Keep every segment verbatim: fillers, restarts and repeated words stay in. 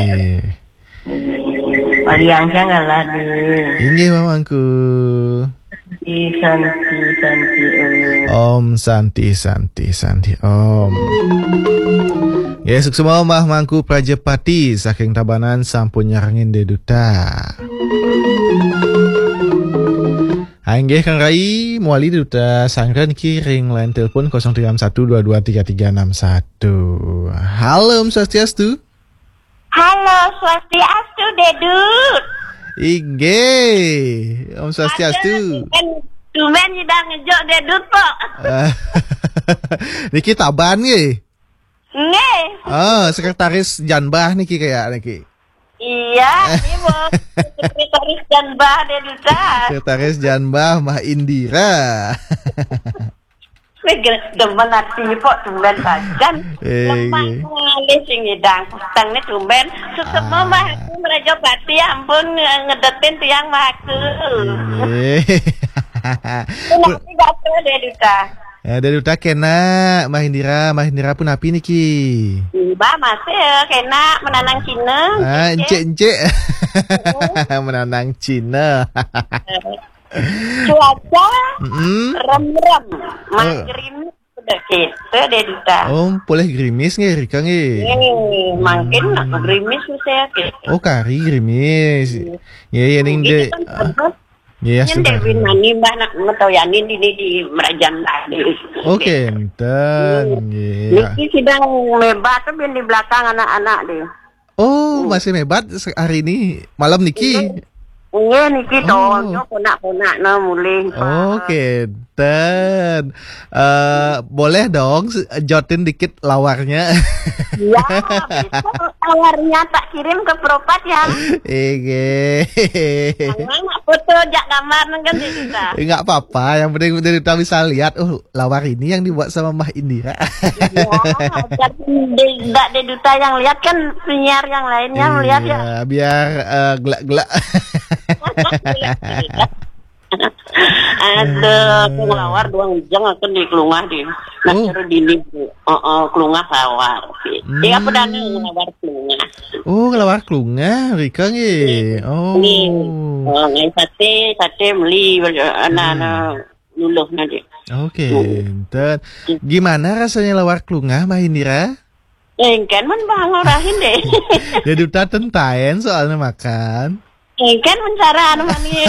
Eh. Pariang sangalah, Dek. Inggih, Mamangku. Santi, Santi, Santi, Om. Om Santi, Santi, Santi, Om. Ya, suksma Mamangku Prajapati saking Tabanan sampun nyarengin Dek Duta. Inggih, Kang Rai, mawali Duta sanggra niki ring line telepon kosong tiga enam satu dua dua tiga tiga enam satu. Halo, Om Swastiastu. Halo, Swastiastu, Dek Dut. Inggih, Om Swastiastu. Aduh, tumben, tumben nyidang ngejok Dek Dut, pok. Niki Taban nggih? Nggih. Ah, sekretaris Janbah niki kayak niki. Iya, ini mau sekretaris Janbah Dek Duta. Sekretaris Janbah Mah Indira. Wih, gel-, demen ati, pok, tumben sajan. Eh, lemah nggih. Ngalih sing ngidang. Peteng ni tumben. Suksma, ah. Mah aku Mrajapati, ampun, nge-, ngedetin tiang, Mah aku. Inggih. Punapi gatra, Dek Duta? Ya, Dek Duta kena, Mah Indira, Mah Indira punapi niki? Mbah masih, ya, kena menanang Cina. Ah, encik, encik. Encik. Menanang Cina. Cuaca remrem, mah gerimis sudah kita, Dek Duta. Oh, polih gerimis nggih, rika nggih. Eh, mangkin nak gerimis saya ke. Oh, kari gerimis. Iya. Nggih, ya, ning, Dek. Nggih, ya, Win Mani, Mbah, nak metoyanin dini di Merajan tadi. Oh, kenten, nggih. Niki sidang mebat tu bin di belakang anak-anak deh. Oh, masih mebat se-, hari ini, malam niki? Nggih, niki to, ponak-ponak na mulih. Oh, kenten. Eh, boleh dong se-, jotin dikit lawarnya? Ya, besok lawarnya tak kirim ke Propat ya. Inggih. Jangan nak foto jak gambar nang kan kita. Enggak apa-apa, yang penting kita bisa lihat. Oh, lawar ini yang dibuat sama Mah Indira. Iya, biar di, ndak Dek Duta yang lihat kan, penyiar yang lainnya melihat ya. Iya, biar, eh, gelak-gelak. Aduh, aku ngelawar dua ngejeng aku di kelungah di. Nah, oh. Seru dini, Bu. Heeh, kelungah lawar. Hmm. Iya, apa dah ngelawar kelungah? Oh, ngelawar kelungah, rika nggih. Iya. Oh. Nggih. Oh, ngai sate, sate meli, anak-anak. Hmm. Luluh nanti. Okey, hmm. Enten. Gimana rasanya lawar kelungah, Mah Indira? Engken men bang orahin deh. Dek Duta ten taen soalnya makan. Engken men cara anu mani,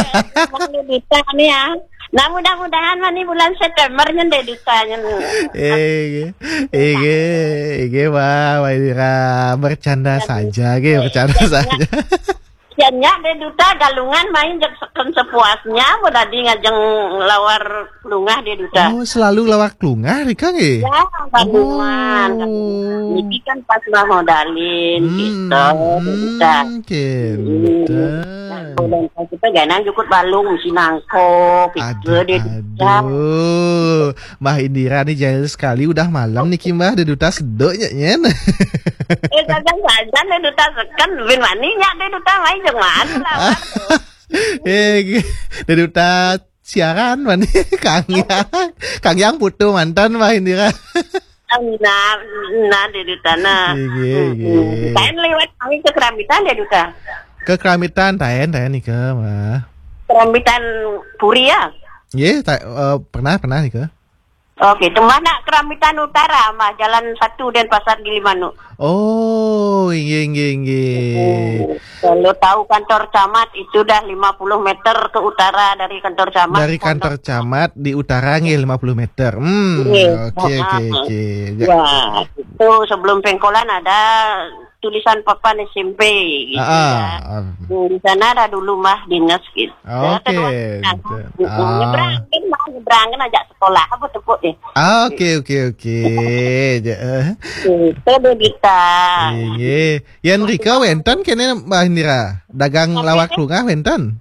mani Duta ni ya. Nah, mudah-mudahan mani bulan September nyen Dek Duta nyen. Eh, eh, eh, wah, Mah Indira bercanda saja, ge, bercanda saja. Nya, Dek Duta, Galungan main jek seken sepuasnya, mau tadi ngajeng lawar kelungah Dek Duta. Oh, selalu lawar kelungah, rika nggih? Ya, Galungan. Oh. Niki kan pas mau modalin, hmm, gitu, Dek Duta. Hmm, kenten. Nah, bulan pas kita ganang jukut balung, mesti nangkop, gitu, Dek Duta. Aduh. Mah Indira ni jahil sekali, udah malam niki, Mah, Dek Duta seduk nyen. Eh, sajan-sajan Dek Duta seken, bin mani nya Dek Duta main jeng mani lah. Eh, Dek Duta siaran mani, Kang Yang. Kang Yang putu mantan Mah Indira. Nah, nah, Dek Duta, nah. Iya, iya. Taen liwat kami ke Kerambitan, Dek Duta. Ke Kerambitan, taen, taen nika, Mah. Kerambitan Puri ya? Iya, ta-, eh, pernah, pernah nika. Oke, tembah nak Kerambitan Utara, mah Jalan satu Denpasar Gilimanuk. Oh, inggih, inggih, inggih. Hmm, kalau tahu kantor camat itu dah lima puluh meter ke utara dari kantor camat. Dari kantor camat di utara nggih lima puluh meter. Hmm, nggih. Oke, oke, oke. Ya, itu sebelum pengkolan ada tulisan papan S M P gitu ya. Ah, ah. Hmm, di sana ada dulu mah dinas gitu. Oke, terus, gitu. Nyebrang kan, mah nyebrang kan ajak sekolah apa tepuk deh. Ah, oke, oke, oke. Ja, eh. Itu Dek Duta. Iya. Yan rika wenten kene Mah Indira. Dagang lawar kelungah wenten?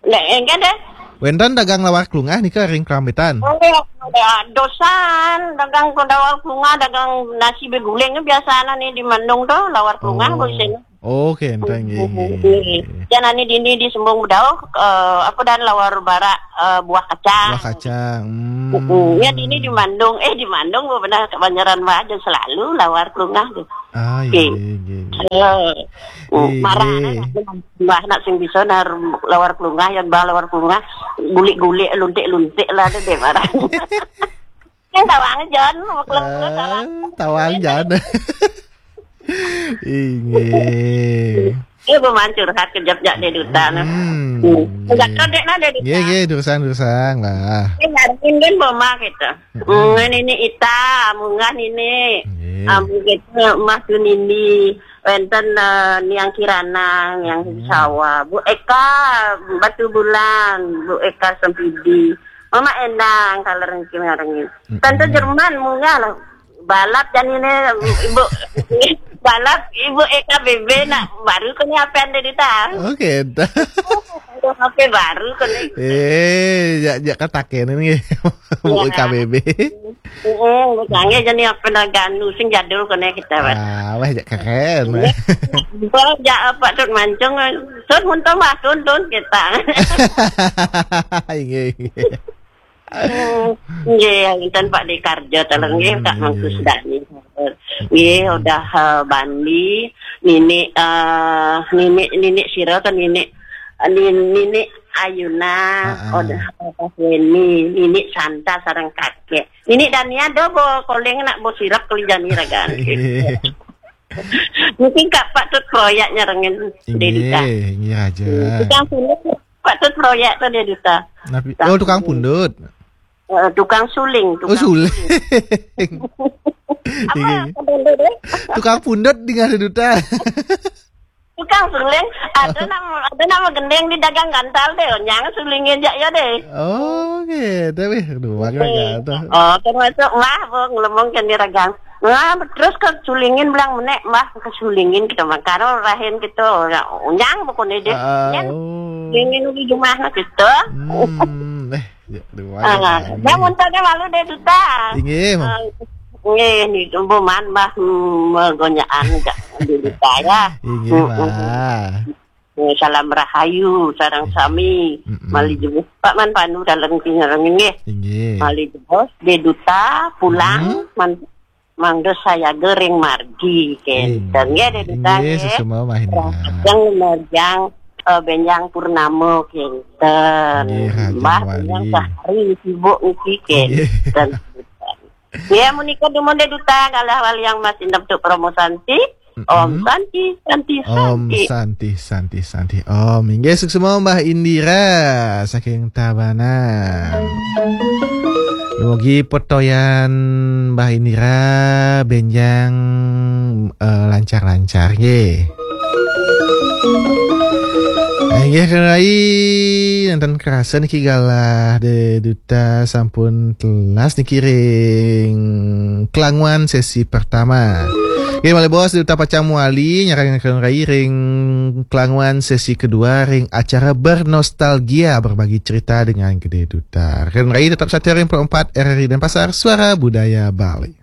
Lek, engke deh. Wenten dagang lawar kelungah nika ring Kerambitan? Oh, ya, dosan, dagang ke lawar kelungah, dagang nasi beguling biasa nih di Mandung tuh, lawar kelungah. Oh. Bosen. Oh, kenten nggih, nggih. Nggih. Jan ani dini di Sembung Bedauh, eh, apa dan lawar barak, eh, buah kacang. Buah kacang. Hmm. Heeh. Ya dini di Mandung, eh, di Mandung benar kebanyaran mah aja selalu lawar kelungah tuh. Ah, iya, iya, iya. Iya. Hmm, marah. Mbah nak sing bisa nar lawar kelungah, ya mbah lawar kelungah. Gulik-gulik, luntik-luntik lah ada deh marah. Kan tawang Jon, mau kelem-kelem tawang. Ah, tawang Jon. Inggih. Iya, bu mancur hat kejap jak deh duta nah. Hmm. Enggak kodek nah deh duta. Nggih, nggih, durusang, durusang lah. Ini ngarepin kan mama gitu. Hmm, ini Ita, munggah ini. Nggih. Amun kita mah tu nini. Wenten eh, Niang Kirana, Niang Sawa, Bu Eka, Batu Bulan, Bu Eka Sempidi. Mama Endang, kalau rengki ngarengin. Tante Jerman, munggah lah. Balap dan ini, Ibu, balap, Ibu Eka B B, nak, baru kena apa anda duta? Oke, dah. Apa baru kena? Eh, ya, ya kataken ini. Bu Eka B B. Heeh, sange jani apa dah ganu, sing jadul kena kita, Pak. Ah, weh, jak keren. Iya. Bang, jak apa tun mancung, tun muntah mah, tun, tun kita. Inggih, inggih. Hmm, nggih, inten Pak Dekarjo, tolong nggih, Kak Mangkus Dani. Nggih, udah eh, Bandi, Nini, eh, Nini, Nini Siro atau Nini, eh, Nini, Nini Ayuna, udah eh, Pak Weni, Nini Santa sareng kakek. Nini Dania do bo koling nak bo sirap keli jani ragan. Mungkin Kak Pak Tut proyeknya rengin Dedita. Inggih, inggih aja. Tukang pundut Pak Tut proyek tuh Dedita. Napi, oh, tukang pundut. Eh, tukang suling, Oh, tukang suling. Apa Inggih. Apa dulu deh? Tukang pundut dengan Dedita. Tukang suling, ada nama ada nama gendeng di dagang gantal deh, nyang sulingnya jak ya deh. Oke, tapi aduh, bagaimana tuh? Oh, termasuk wah, bu ngelemong kan di ragang. Nah, terus ke sulingin bilang menek, mbah ke sulingin kita mah. Karo rahin kita, ya, nyang pokoknya deh. Ah, Nyang oh. Sulingin di rumah gitu. Hmm, eh, ya, aduh, Ah, bagaimana? Dia muntahnya malu deh duta. Inggih, Mam. Ah, Nggih, niku mbuh man mbah mm, megonyaan jak dulu saya. Inggih, Mm-mm. Mbah. Eh, salam rahayu sareng sami. Mm-mm. Mali jebus Pak Man Pandu dalem kingereng nggih. Inggih. Mali jebus de duta pulang Mm-mm. man mangda sayaga ring margi kenten nggih de duta Inggih, nggih. Sesama Mbah Indra. Yang merjang eh, benjang purnama kenten. Nggih, Raja Mbah Wali. Benjang sehari sibuk niki Nggih. Kenten. Ya, menika dumun de duta galah wali yang mas indem tuk promo santi. Om Santi, Santi, Om Santi. Santi, Santi, Santi. Om, inggih suksma Mbah Indira saking Tabanan. Mugi petoyan Mbah Indira benjang eh, lancar-lancar nggih. Inggih Rai, nonton kerasa niki galah de duta sampun telas niki ring kelanguan sesi pertama. Oke, malih bos, Duta Pacang Wali nyarang Kang Rai ring kelanguan sesi kedua ring acara Bernostalgia, berbagi cerita dengan Gede Duta. Kang Rai tetap setia ring Pro empat R R I Denpasar, Suara Budaya Bali.